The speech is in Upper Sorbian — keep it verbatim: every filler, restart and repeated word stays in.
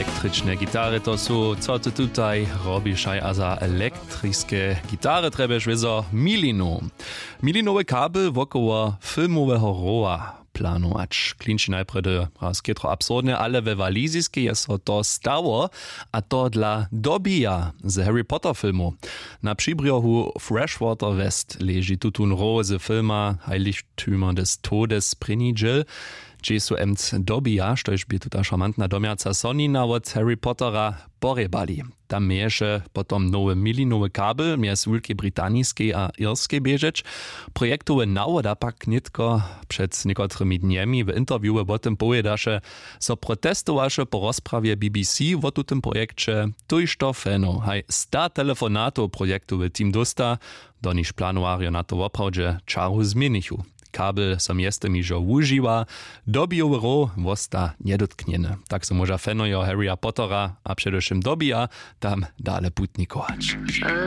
Električne gitary to su, co ty tutaj robišaj, a za elektriske gitary trjebješ wězo milinu. Milinowy kabel wokoło filmoweho rowa planować klinči najprjedy raz chětro absurdne, ale we waliziskej je so to stało. A to dla dobija z harry potter filmu. Na přibrjohu freshwater west leži tutón row z filma heiligtümer des todes prěni dźěl. Hdźež su mc dobija, štož bě tuta šarmantna domjaca sonina wot harry pottera porjebali. Tam měješe potom nowy milinowy kabel mjez wulkej britaniskej a irskej běžeć. Projektowy nawoda pak nětko před někotrymi dnjemi w interviewe wo tym powědaše, zo protestowaše po rozprawje bbc wo tutym projekće. Tójšto fanow haj sta telefonatow projektowy team dósta. Do nichž planowarjo na to woprawdźe čaru změnichu. Kabel so mjeztym hižo wužiwa. Dobijowy row wosta njedotknjeny, tak so móža fanojo harryja pottera a předewšěm dobija tam dale putnikować.